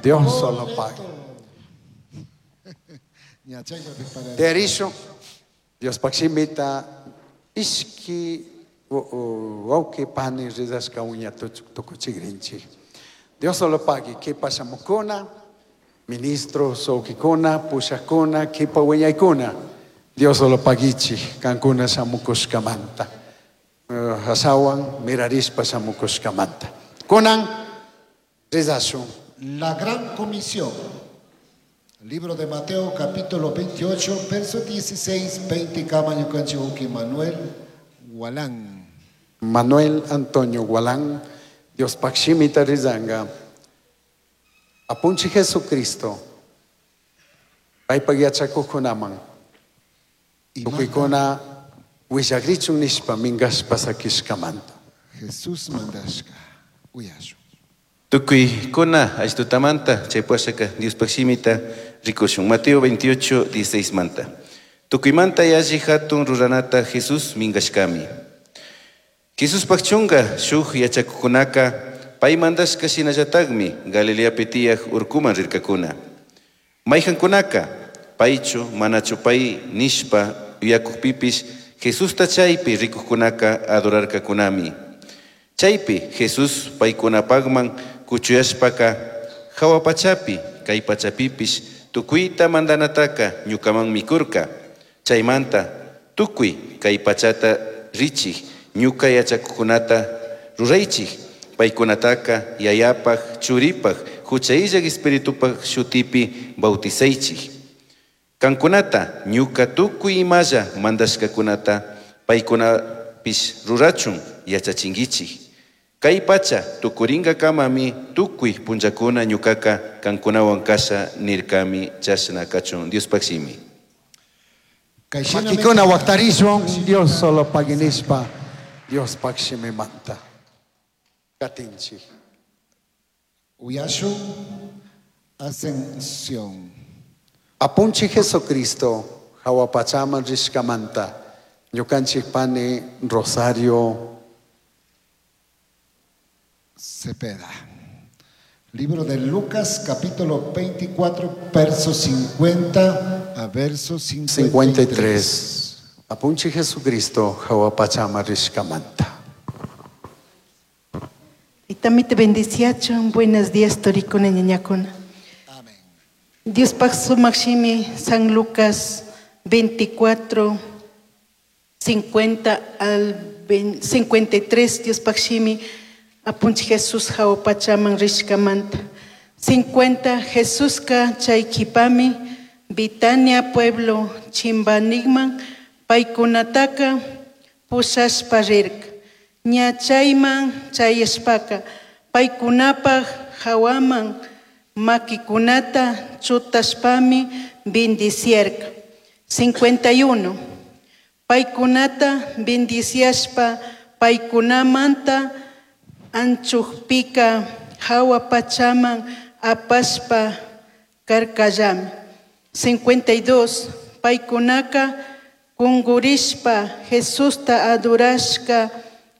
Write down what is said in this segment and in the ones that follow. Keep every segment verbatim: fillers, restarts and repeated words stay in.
Dios solo paga. Ña chayllapi para. Terisho, Dios pakshimita, ishki wauki pani rizashka uña tukuchigrinchik. Dios solo pagui, kipa shamukuna, ministros wawkikuna, pushakuna, kipa wiñaykuna. Dios solo paguichi, kankuna shamukushkamanta. Uh, Hasawan mirarishpa shamukushkamanta. Kunan rizashun. La Gran Comisión. Libro de Mateo capítulo veintiocho, verso dieciséis, veinte, kama ñukanchik wawki Manuel Gualán. Manuel Antonio Gualán, Dios pakshimita rizanga. Apunchi Jesucristo, paypak yachakuqkunaman, tukuykuna willakrichun nishpa minkashpa sakishkamanta. Jesús mandashka, uyashun. Tukuykuna ashtutamanta chaypashaka Diospaj shimita rikushun. Mateo veintiocho, dieciséis manta. Tukuymanta yalli hatun ruranata Jesús minkashkami. Jesuspaj chunka shuk yachakuqkunaka pay mandashka shinallatakmi Galileapi tiyaj urkuman rirkakuna. Mayhankunaka paychu manachu pay nishpa yuyakukpipish Jesusta chaypi rikuqkunaka adorarkakunami. Chaypi Jesús paykunapaqman kuchuyashpaka hawa pachapi kay pachapipish tukuyta mandanataka ñukamanmi kurka. Chaymanta tukuy kay pachata richik ñuka yachakuqkunata ruraychik. Paykunataka yayapaj, churipaj, huchayllak espiritupaj shutipi bautizaychik. Kankunata ñuka tukuy imalla mandashkakunata paykunapish rurachun yachachinkichik. Kay pacha tukurinkakamami tukuy punllakuna ñukaka kankunawan kasha nirkami chashna kachun Diospaj shimi. Makikuna waktarishun Dios solo paginishpa Diospaj shimimanta. Katinchik. Uyashun Ascensión. Apunchi Jesucristo, hawa pachaman rishkamanta, ñukanchik pani Rosario Cepeda. Libro de Lucas, capítulo veinticuatro, verso cincuenta a verso cincuenta y tres. cincuenta y tres. Apunchi Jesucristo, hawa pachaman rishkamanta. Y también te bendiciachon. Buenos días, toricona, ñañacona. Amén. Dios pax maximi, San Lucas veinticuatro, cincuenta al cincuenta y tres, Dios paximi, apunchi Jesús jaopachaman rishkamanta. cincuenta, Jesús ka chayquipami, Bitania pueblo chimbanigman, paykunataka pushashpa rirka. Ña chayman chayashpaka, paykunapaj hawaman makikunata chutashpami bendiciarka. cincuenta y uno. Paykunata bendiciashpa, paykunamanta anchukpika hawa pachaman apashpa karkallami. cincuenta y dos. Paykunaka kungurishpa Jesusta adorashka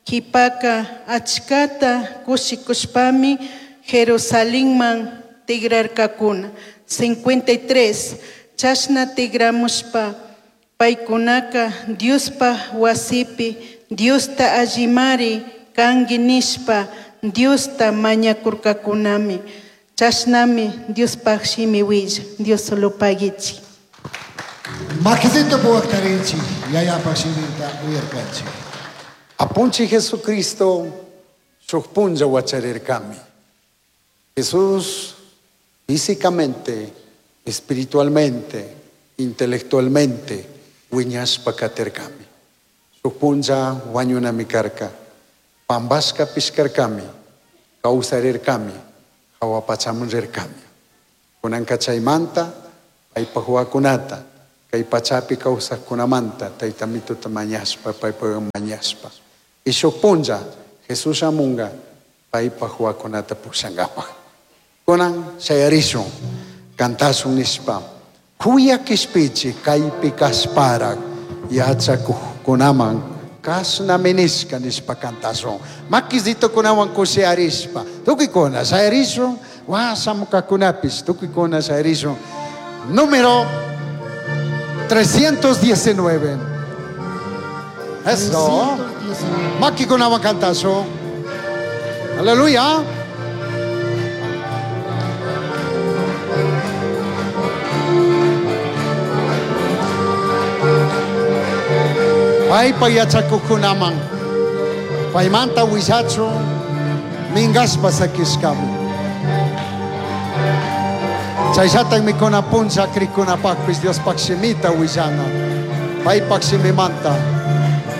kipaka achkata kushikushpami Jerusalenman tigrarkakuna. cincuenta y tres. Chashna tigramushpa paykunaka Diospa wasipi Diosta allimari kanki nishpa Diosta mañakurkakunami. Chashnami Diospaj shimi willa. Dios solo pagichi. Makisito puwaktarichi, yayapaj shimita uyarkanchi. Apunchi Jesucristo, shuk punlla wacharirkami. Jesús físicamente, espiritualmente, intelectualmente, wiñashpa katirkami. Shuk punlla wañunami karka, pambashka pishkarkami, kawsarirkami, hawa pachaman rirkami. Kunanka chaymanta, paypaj wawakunata, kay pachapi kawsaqkunamanta, tayta mituta mañashpa, paypaj mañashpa. Y shuk punlla, Jesús shamunga, paypaj wawakunata pushankapaj. Kunan shayarishun, kantashun nishpa, Kuya kishpichi kaypi kashparak, yachakuqkunaman kashna minishka nishpa kantashun. Makisito kunawan kushiyarishpa, tukuykuna shayarishun, Washamukakunapish tukuykuna shayarishun. Número trescientos diecinueve. Eso. trescientos diecinueve. Makikunawan kantashun. Aleluya. Paypa yachakuqkunaman paymanta willachun mingaspa sakishkami. Chayllataqmi kunan punlla krikunapaqpis Diospaq shimita willana. Paypaq shimimanta.